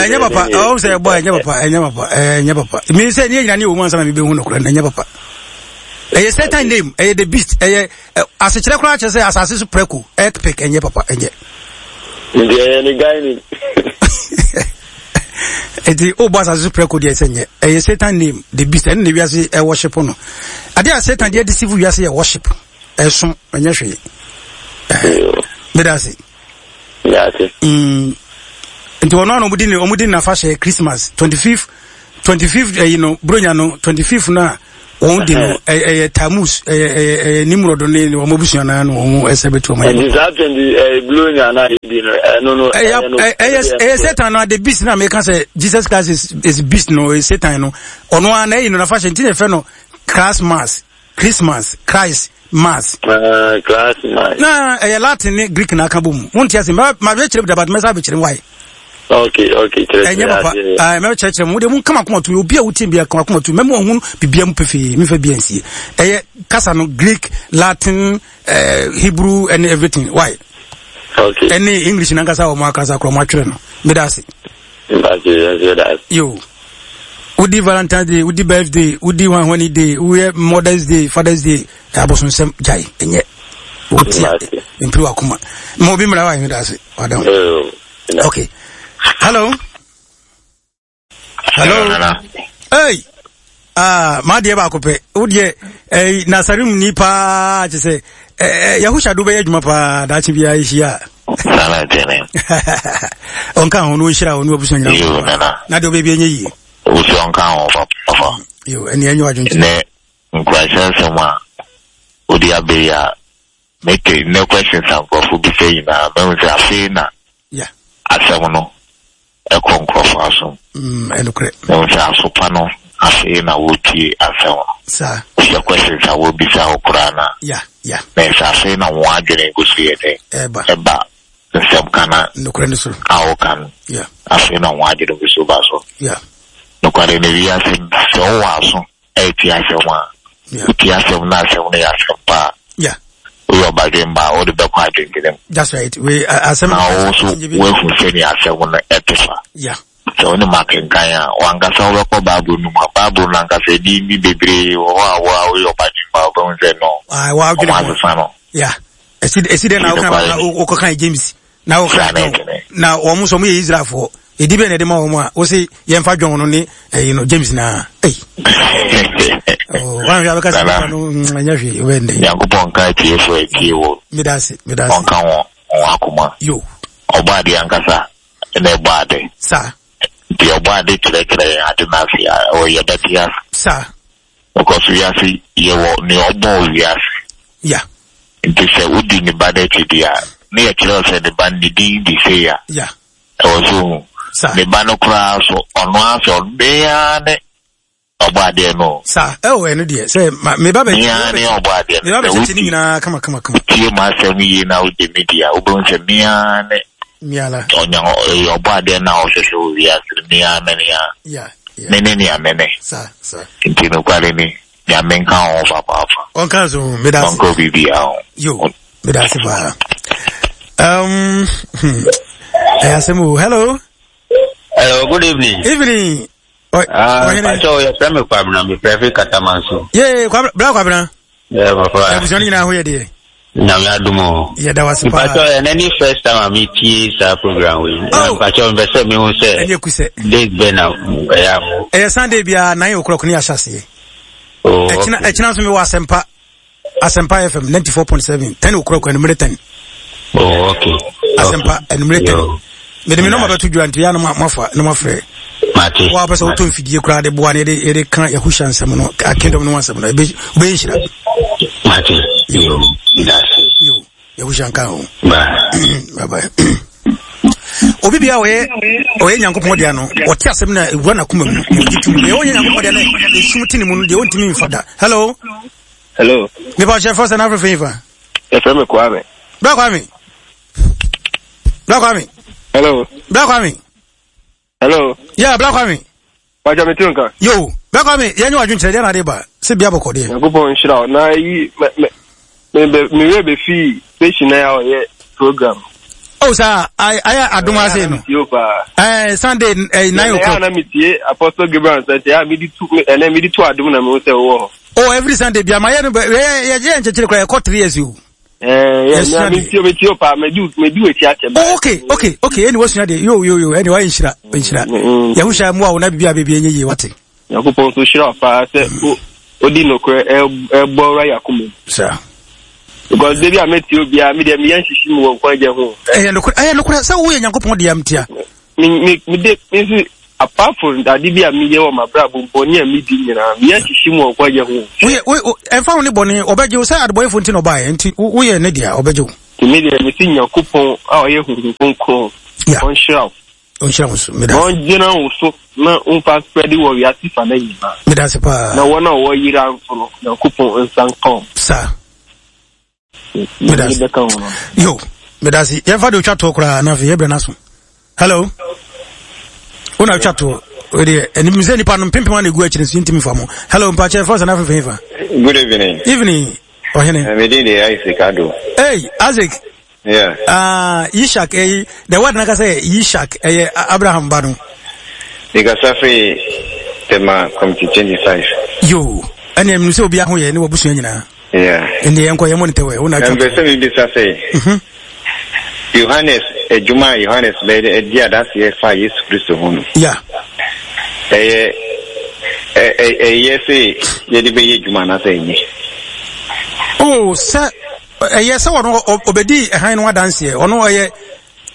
Ɛnyɛ papa. Ɔwɔ sɛ ɛbɔ, ɛnyɛ papa, ɛnyɛ papa, ɛnyɛ papa. Mi sɛ ne yɛ nyina ne wɔ mu ansa na mebɛhu no korɛ no. Ɛnyɛ papa. Ɛyɛ Satan name, ɛyɛ the beast, ɛyɛ asekyerɛ koraa kyerɛ sɛ asase so prɛko, earth pig. Ɛnyɛ papa, ɛnyɛ. Nti ɛyɛ ne guy ni. Nti wobɔ asase so prɛko deɛ, sɛ nyɛ ɛyɛ Satan name, the beast. Ɛno na wiase ɛ worship no. Adeɛ a Satan deɛ deceive wiase yɛ worship, ɛso ɛnyɛ hwee. Meda ase. Nti ɔno ano ɔmudi ne ɔmudi nafa hyɛ Christmas twenty fifth, twenty fifth ɛyi no, buronya no twenty fifth no a Wɔn di no ɛyɛ Tammuz, ɛyɛ ɛyɛ ɛyɛ Nimrod ne wɔn abusua naa na wɔn ɛsɛ bɛtu wɔn. Nti saa twenty ɛɛ blue na yɛ no ɛno no. Ɛyɛ ɛyɛ ɛyɛ Satan na the beast na meka sɛ Jesus Christ is is beast no, is Satan no. Ɔno ara na ɛyi no nafa hyɛ nti na yɛfrɛ no Christmas, Christmas, Christ Mass. Uh, Christ Mass. Na ɛyɛ Latin ne Greek na aka bɔ mu. Wonte ase mɛ ma bɛ kyerɛ dabat mɛ sa bɛ kyerɛ why. Okay, okay, kyerɛ kyerɛ. Ɛnyɛ papa. Ah, mɛ kyerɛ kyerɛ mu. De mu kama koma tu. Obi a wotie bia kama koma tu. Mɛ mu ohun bibia mu pefee. Mi fa bia nsie. Ɛyɛ kasa no Greek, Latin, uh, Hebrew and everything. Why? Okay. Ɛne English na nkasa wɔn akasa korɔ wɔn atwerɛ no. Meda ase. Yo. Wodi Valentine's Day, wodi birthday, wodi hwanhwani day, woyɛ Mother's Day, Father's Day, abosonsɛm gyae, ɛnyɛ. Wotia mpiri wakoma. Ma obi mmara wa meda ase. Wadam. Okay. Hello. Hello. Hey. Ah, ma deɛ baako pɛ. Wo deɛ eh Nasarim ni paa kyɛ sɛ eh Yahusha do bɛyɛ adwuma paa daakye biara hyia. Nana tene. Ɔnka ho no nhyira wo ne wabusua nyina. Yo nana. Na deɛ ɔbɛbi ɛnyɛ yie. Wosɛ ɔnka ho papa. Yo, ɛne ɛnyɛ wadwonkyerɛ. Ne nkurasɛ nsɛm a wode abɛyi a mete ne questions a nkurɔfo bisa nyinaa mahu sɛ afei na asɛm no ɛkɔ nkurɔfo asom. Ɛnokorɛ. Mahu sɛ asopa no afei na wotie asɛm no. Saa. Sɛ questions a wɔbisa wo koraa na. Yeah, yeah. Na ɛsɛ afei na wɔn adwene gu so yɛ dɛ. Ɛba. Ɛba nsɛm ka na. Nokorɛ no so. A wɔka no. Yeah. Afei na wɔn adwene gu so ba so. Yeah. Nokware no wiase sɛ wowɔ aso ɛtie asɛm a. Yeah. Wotie asɛm na asɛm no yɛ asɛm paa. Yeah. Woyɛ ɔbadwemba a wode bɛkɔ adwendwene mu. That's right. We asɛm. Na wo nso woahu sɛnea asɛm no ɛte fa. Yeah. Sɛ wo ne ma kenkan a wankasa wobɛkɔ Bible no mu a Bible no ankasa ɛdi bi bebree wɔ hɔ a wo a woyɛ ɔbadwemba a wobɛhu sɛ no. Ah, wa adwene ho. Ɔmo asesa no. Yeah. Ɛsi ɛsi dɛ na woka wokɔka James na woka na wɔn nso wɔn yɛ Israelfoɔ. Ɛdi bɛn na ɛde ma wɔn a wɔsi yɛnfa John no ne ɛyi no James na ɛyi. Wɔn ahwɛ abɛka sɛ nipa no ɛnyɛ hwee ɔbɛn dɛ. Nyankopɔn nka atiefo atie wɔ. Meda ase meda ase. Ɔnka wɔn wɔn akoma. Yo. Ɔbɔ ade ankasa na ɛbɔ ade. Saa. Nti ɔbɔ ade kyerɛkyerɛ yɛn ade n'ase a ɔyɛ bɛte ase. Saa. Because wiase yɛwɔ nea ɔbɔ wiase. Yeah. Nti sɛ wodi ne ba n'akyi di a ne yɛ kyerɛ sɛ ne ba ne din di sei a. Yeah. Ɛwɔ so hu. Saa. Ne ba no koraa so ɔno asɛ ɔno ne ɔbɔ adeɛ no. Saa ɛwɔ ɛno deɛ sɛ ma me ba bɛ. Mia ne ɔbɔ adeɛ no. Me ba bɛ kyekye ne nyinaa kama kama kama. Tie mu asɛm yie na wogye me di a wobɛhu sɛ mia ne. Mia la. Ɔnya ɔbɔ adeɛ na ɔhwehwɛ wɔ wiase mia me nea. Yeah. Me ne nea me ne. Saa saa. Nti nokware ni Nyame nka ho papaapa. Ɔnka so meda ase. Ɔnka obi bia ho. Yo meda ase paa. Um, hmm. Ɛyɛ asɛm o. Hello. Hello, good evening. Evening. Ah, Pacho, yɛfrɛ me Kwabena, mefrɛ fi Katamanso. Yee, Kwabena, bra Kwabena. Yeah, papa. Abusua no nyinaa ho yɛ deɛ. Nyame adom o. Yɛda wase paa. Pacho, ɛnɛ ne first time a metie saa program wei. Oh. Pacho, mpɛ sɛ mehu sɛ. Ɛnyɛ kusɛ. Date bɛn na ɛyɛ a mo. Ɛyɛ Sunday biara nine o'clock ne yɛahyɛ aseɛ. Oh, okay. Ɛkyina ɛkyina nso mewɔ Asɛmpa Asɛmpa F M ninety four point seven ten o'clock anumere ten. Oh, okay. Asɛmpa anumere ten. Mede me nɔmba bɛto dwa nti yɛ a na moafa na moafrɛ. Mate. Wa pɛ sɛ wotɔ mfidie koraa de boa ne yɛde yɛde ka Yahusha nsɛm no kingdom no ho asɛm no ebe wobɛyɛ nhyira. Mate. Yo. Medase. Yo. Yahusha nka ho. Bye. Bye bye. Obi bia ɔyɛ ɔyɛ Nyankopɔn dea no ɔte asɛm na ewura n'akoma mu ɔgye tum deɛ ɔnyɛ Nyankopɔn dea no esum te ne mu no deɛ ɔntumi nfa da. Hello. Hello. Nipa ɔhyɛ fɔ sɛ n'afɛ fɛn fa. Yɛfrɛ me Kwame. Bra Kwame. Bra Kwame. Hello. Bra Kwame. Hello. Yeah, Bra Kwame. Waja me tunka. Yo, Bra Kwame, yɛn nyɛ wadwin kyerɛ deɛ na ade ba. Sɛ bia bɔkɔ deɛ. Nyankopɔn nhyira wo. Na yi me me me me werɛ bɛfi station na yɛ ɔyɛ program. Oh, sir, I I adom ase no. Eh, Sunday eh, nine o'clock. Na metie Apostle Gabriel sɛ ya me di tu ɛnɛ me di tu adom na me wo sɛ wo hɔ. Oh, every Sunday bia ma yɛ no yɛ yɛ nkyɛkyerɛ kora yɛkɔ three years o. Eh, yeah, me tie me tie pa me du me du eti akyɛ ba. Oh, okay, okay, okay. Ɛni wasua de. Yo yo yo, ɛni wa nhyira, nhyira. Yahusha mu a wo na bibia bibia enye yie wate. Nyankopɔn so hyira pa sɛ odi nokorɛ ɛbɔ wura yakoma. Sir. Because baby I met you bia me de me yan hyehyɛ mu wɔ nkwan gye ho. Ɛyɛ nokorɛ, ɛyɛ nokorɛ sɛ woyɛ Nyankopɔn de amtia. Me me me de me nso Apart from ade bi a meyɛ wɔ m'abrabɔ bɔne a medi nyinaa, meyɛ hyehye mu ɔkwa yɛ ho. Woyɛ wo ɛmfa wo ne bɔne ɔbɛgye wo sɛ adebɔyɛfo nti na ɔbaeɛ nti woyɛ ne deɛ ɔbɛgye wo. Nti me deɛ mesi Nyankopɔn a ɔyɛ Honhom Kronkron ɔnhyira wo. Ɔnhyira wo so. Meda ase. Ɔngyina wo so na ɔmfa spread wɔ wiase fa no nyinaa. Meda ase paa. Na wɔn a wɔyera nso no, Nyankopɔn nsa nka wɔn. Saa. Meda ase. Yo, meda ase. Yɛmfa de otwa toɔ koraa na afei yɛbrɛ no aso. Hello. Wo na otwa toɔ. Wedeɛ, ɛnim sɛ nipa no mpempem a na egu akyire nso ntimi fa mo. Hello, mpakyɛ fɔ sɛ na afefe fa. Good evening. Evening, ɔhene. Me din de Isaac Ado. Hey, Isaac. Yeah. Ah, uh, Yishak, eh, the word naka say Yishak, eh, Abraham ba no. Mikasa firi Tema Committee twenty-five. Yo, ɛne ɛmu sɛ obi aho yɛ ne wabusua nyinaa. Yeah. Ɛnde yɛnkɔ yɛmmɔ ne tɛwɛ, wo na atwa. Mpɛ sɛ mebisa sɛ, Mhm. Yohanes adwuma a Yohanes bɛyɛ di adanseɛ fa Yesu Kristo ho no. Yeah. Ɛyɛ ɛyɛ sɛ yɛde bɛyɛ adwuma anaasɛ ɛnyɛ? Oh, sɛ ɛyɛ sɛ ɔno ɔbɛdi ɛhan no adanseɛ, ɔno ɔyɛ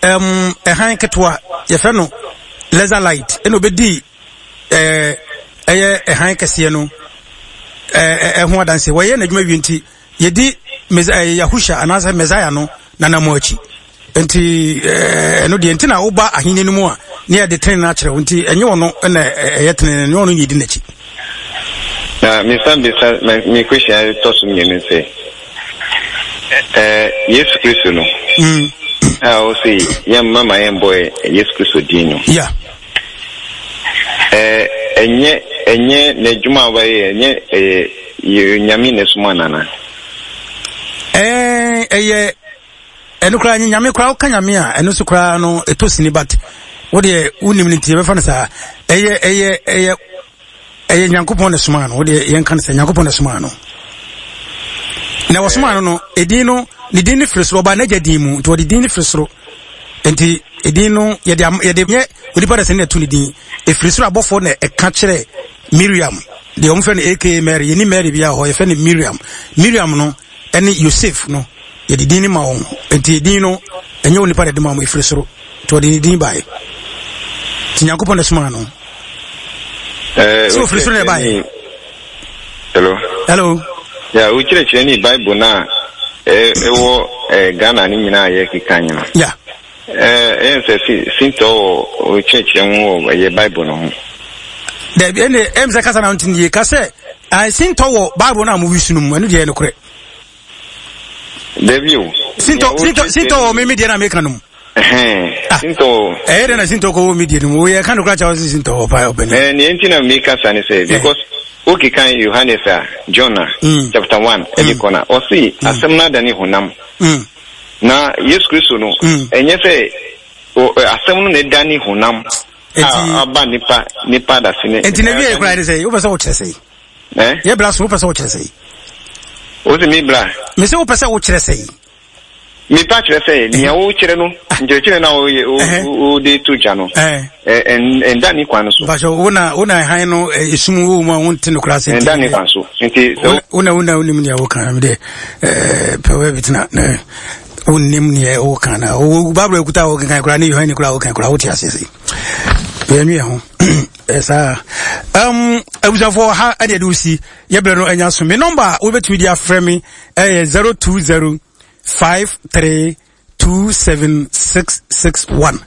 um, ɛhan ketewa, yɛfrɛ no laser light, ɛna ɔbɛdi ɛɛ ɛyɛ ɛhan kɛseɛ no ɛho adanseɛ. Wɔyɛ n'adwuma wie nti yɛdi Yahusha anaasɛ Messiah no nanamo akyi. Nti ɛno deɛ nti na woba ahenni no mu a ne yɛde tene no akyerɛ wo, nti ɛnyɛ ɔno na ɛyɛ tene no, ɛnyɛ ɔno na yɛdi n'akyi. Na mesan bisa me question tɔ so mmienu sɛ, Yesu Kristo no a ɔse yɛn mama yɛn bɔ Yesu Kristo din no, yeah, ɛnyɛ ɛnyɛ n'adwuma a wɔyɛ, ɛnyɛ ɛyɛ Nyame na ɛsoma nana? Ɛɛ ɛyɛ ɛno koraa nye Nyame koraa, woka Nyame a ɛno nso koraa no ɛtɔ sini, but wo deɛ wonim no nti yɛbɛfa no saa. Ɛyɛ ɛyɛ ɛyɛ ɛyɛ Nyankopɔn na somaa no, wo deɛ yɛnka no sɛ Nyankopɔn na somaa no. Na wɔsomaa no no, edin no, ne din no firi soro, ɔbaa n'agya din mu, nti wɔde din no firi soro. Nti edin no yɛde yɛde nyɛ onipa na sɛ ne ɛto ne din, ɛfiri soro. Abɔfoɔ na ɛka kyerɛ Miriam, deɛ wɔn fɛ no aka Mary, yɛni Mary bi a hɔ, yɛfɛ no Miriam. Miriam no ɛne Yosef no yɛde din no ma wɔn, nti edin no ɛnyɛ onipa na ɛde ma wɔn, ɛfiri soro, nti wɔde ne din baeɛ. Nti Nyankopɔn na somaa no. Sɛ ofiri soro na ɛbaeɛ. Hello. Hello. Ya, wokyerɛkyerɛ ne Bible no a ɛwɔ Ghana ne nyinaa yɛ keka nyina. Ya. Ɛyɛ sɛ sintɔ wɔ wokyerɛkyerɛ ho wɔ ɛyɛ Bible no ho. Dabi, ɛne ɛm sɛ kasa na ntini yie ka sɛ sintɔ wɔ Bible no a mo wisu no mu, ɛno deɛ ɛyɛ nokorɛ. Dabi o. Sintɔ sintɔ sintɔ wɔ mímí deɛ na meka no mu. Sintɔ wɔ. Ɛyɛ dɛ na sintɔ kɔ wɔ mi deɛ no mu, woyɛ ka no kora kyɛw sɛ sintɔ wɔ paa ɔbɛn. Ɛɛ nea nti na meka sa ne sɛ because wokekan Yohanes a John a chapter one ɛde kɔ na ɔse asɛm no adane honam. Na Yesu Kristo no ɛnyɛ sɛ asɛm no na ɛdane honam a aba nipa nipa adase ne. Nti na wie kora ne sɛ wopɛ sɛ wokyerɛ sɛ. Eh? Yɛ bra so wopɛ sɛ wokyerɛ sɛ. Wo se mi bra. Me se wopɛ sɛ wokyerɛ sɛ. Mepa kyerɛ sɛ nea wokyerɛ no nkyerɛkyerɛ na woyɛ wode to gya no ɛnda ne kwan so. Mpakyɛ wo na wo na hann no esum wɔ mu a wonte no koraa sɛ. Ɛnda ne kwan so. Nti sɛ wo na wo na wonim nea woka no de ɛɛ pɛ wɔ bi tena na wonnim nea woka na wo Bible akuta a wokenkan koraa ne Yohane koraa wokan koraa wote ase sɛ. Yɛnwe ho. Saa. Um abusuafoɔ ha ɛde ɛde wosi yɛbrɛ no anya so. Me number a wobɛtumi de afrɛ me ɛyɛ zero two zero five three two seven six six one,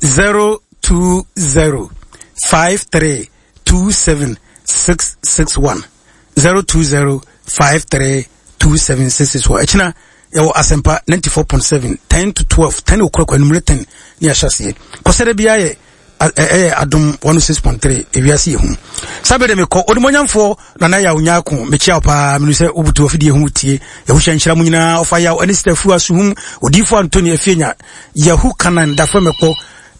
zero two zero five three two seven six six one, zero two zero five three two seven six six one. Ɛkyina yɛwɔ Asɛmpa ninety four point seven, ten to twelve, ten o'clock anumere ten ne ahyɛ aseɛ. Kɔsɛdɛ biara yɛ ɛyɛ Adom one oh six point three ewiase yɛ hu. Sábẹ́ de mekɔ onimonyamfoɔ Nana Yaw Nyako, mekyia wo paa, menu sɛ wobutu afidie ho tie Yahusha nhyira mu nyinaa, ɔfa Yaw ɛne Sita Fua Suhum, Odiyifoɔ Anthony Afienya, Yahu Kanan Dafɛ Mɛkpɔ,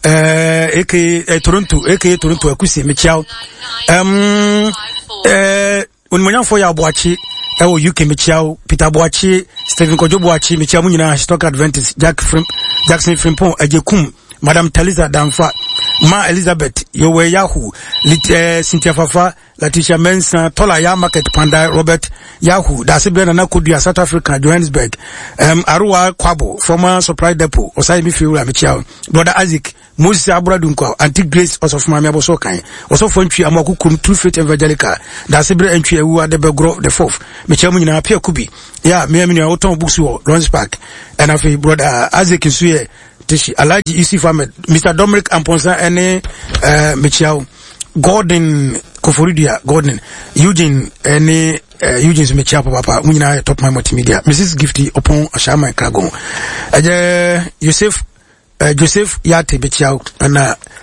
eh, aka eh, Toronto, aka Toronto Akuse, mekyia wo. Um, eh, Onimonyamfoɔ Yaw Boakye ɛwɔ U K, mekyia wo. Peter Boakye, Stephen Kojo Boakye, mekyia mu nyinaa. Stock Adventist, Jack Frim, Jackson Frimpong, Agyekum, Madam Talisa Damfa, Ma Elizabeth, Yowe Yahoo, Lit, eh, Cynthia Fafa, Letitia Mensah, Tola Ya Market Panda, Robert Yahoo, Dasi Brenda Nakodua, South Africa, Johannesburg, um, Arua Kwabo, former supply depot, Osai Mifiura Michiao, Brother Isaac, Moses Abradunko, Auntie Grace, Osofumami Aboso Kan, Osofo Ntwi Amokukum, True Faith Evangelical, Dasi Bre Ntwi Ewu Adebegro the fourth, Michiao Munyina Pia Kubi, ya, me amini Oton Books wɔ Lawrence Park, and afi Brother Isaac Nsuye, Tishi, Alhaji Yusuf Ahmed, Mister Dominic Amponsa, ene, uh, Michiao, Gordon Koforidia, Gordon, Eugene, ene, uh, Eugene Michiao Papa, Munyina Top My Multimedia, Missus Gifty Opon Ashama Kragon, Eje Yosef, Uh, Joseph Yate Michiao, and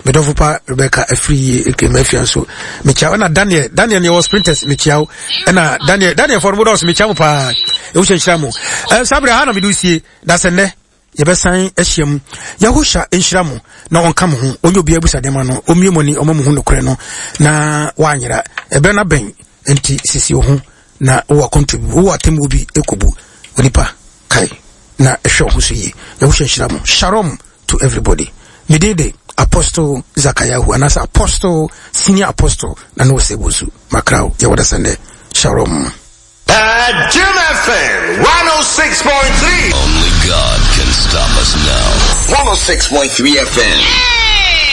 Medofupa Rebecca Efri Mefia so Michiao, and Daniel, Daniel was sprinters Michiao, and Daniel, Daniel for Mudos Michiao pa, Usha Shamo, uh, Sabra Hana Midusi, that's a ne, Yebesan Eshiam, Yahusha Inshramu, no one come home, only be able to demano, Omiumoni, Omomuno Creno, na Wanyera, Ebena Ben, Enti Sisi Ohun, na Owa contribute, Owa Temubi, Ekobu, Onipa, Kai, na Esho Husi, Yahusha Shramu, Shalom to everybody. Midede Apostle Zakayahu, and as Apostle, Senior Apostle, Nano Sebusu, Makrao, Yawada Sunday. Shalom. At Jim F M one oh six point three. Only God can stop us now. one oh six point three F M.